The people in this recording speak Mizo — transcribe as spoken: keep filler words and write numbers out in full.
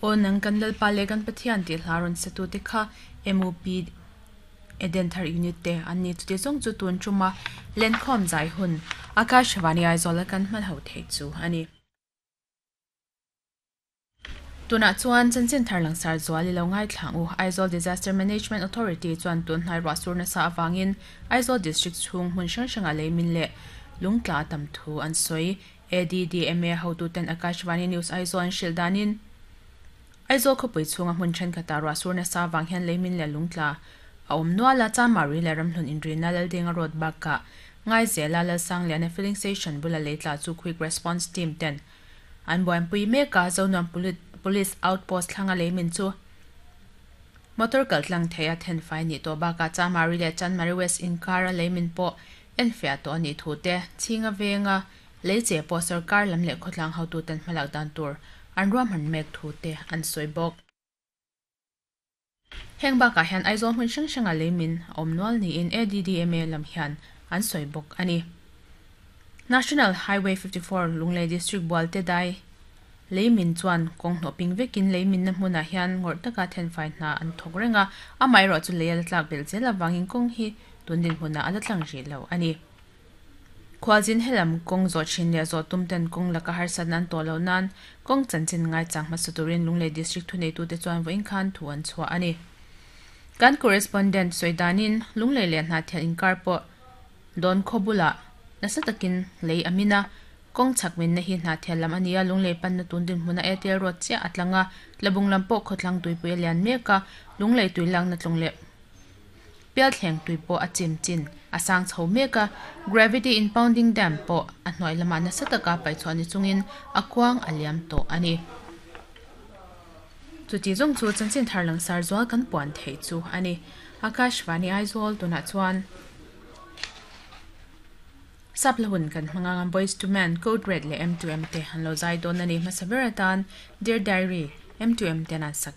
Aw nang kan Lalpa leh kan Pathian tih hla rawn sa tute kha M U P Edenthar Unit te an ni. Chuti zawng chu tun tuma lenkhawm zai hun Akashvani Aizawl a kan hman ho thei chu a ni. Tunah chuan chanchin thar langsar zual i lo ngaithla ang u. Aizawl Disaster Management Authority chuan tun hnai ruah sur nasa avangin Aizawl District chhung hmun hrang hrangah leimin leh lungtla tam thu an sawi. A D D M A hotuten Akashvani News Aizawl an hrilh danin Aizawl khawpui chhunga hmun thenkhatah ruah sur nasa avang hian leimin leh lungtla a awm nual a. Chanmari leh Ramhlun inrina Laldenga Road bakah Ngaizela Lalsangliana Filling Station bula leitla chu Quick Response Team ten an buaipui mek a. Zonuam Police Outpost thlanga leimin chu motor kaltlang thei a thenfai nih tawh bakah Chanmari leh Chanmari West inkara leimin pawh enfiah tawh a nih thu te, chhinga venga leiche pawh sarkar lam leh khawtlang hotuten hmalak dan tur an ruahman mek thu te an sawi bawk. Heng bakah hian Aizawl hmun hrang hranga leimin a awm nual niin A D D M A lam hian an sawi bawk a ni. National Highway fifty-four Lunglei District Bualte dai leimin chuan kawng hnawh ping vekin leimin na hmunah hian ngawrh taka thenfai hna an thawk reng a, amaherawh chu lei a la tlak belh zel avangin kawng hi tun dinhmunah a la tlang rih lo a ni. Khualzin helam kawng zawh thin leh zawh tum ten kawng laka harsatna an tawh loh nan kawng chanchin ngaichang hmasa turin Lunglei District thuneitute chuan vawiin khan thu an chhuah a ni. Kan correspondent sawi danin Lunglei leh Hnahthial inkar pawh dawn khaw bulah nasa takin lei a min a, kawng chhak minna hi Hnahthial lam a ni a, Lunglei panna tun dinhmuna Airtel Road chiah a tlang a, Tlabung lam pawh khawtlang tuipui a lian mek a, Lunglei tui lakna tlawng leh Pialthleng tui pawh a chim chin a sang chho mek a, gravity impounding dam pawh a hnuai lamah nasa taka paihchhuah ni chungin a kuang a liam tawh a ni. Chuti zawng chu chanchin thar langsar zual kan puan theih chu a ni. Akashvani Aizawl. Tunah chuan sap lahun kan hmanga ang. Boyz two Men, Code Red leh M two M te an lo zai dawn a ni. Hmasa ber atan Dear Diary, M two M ten an sak.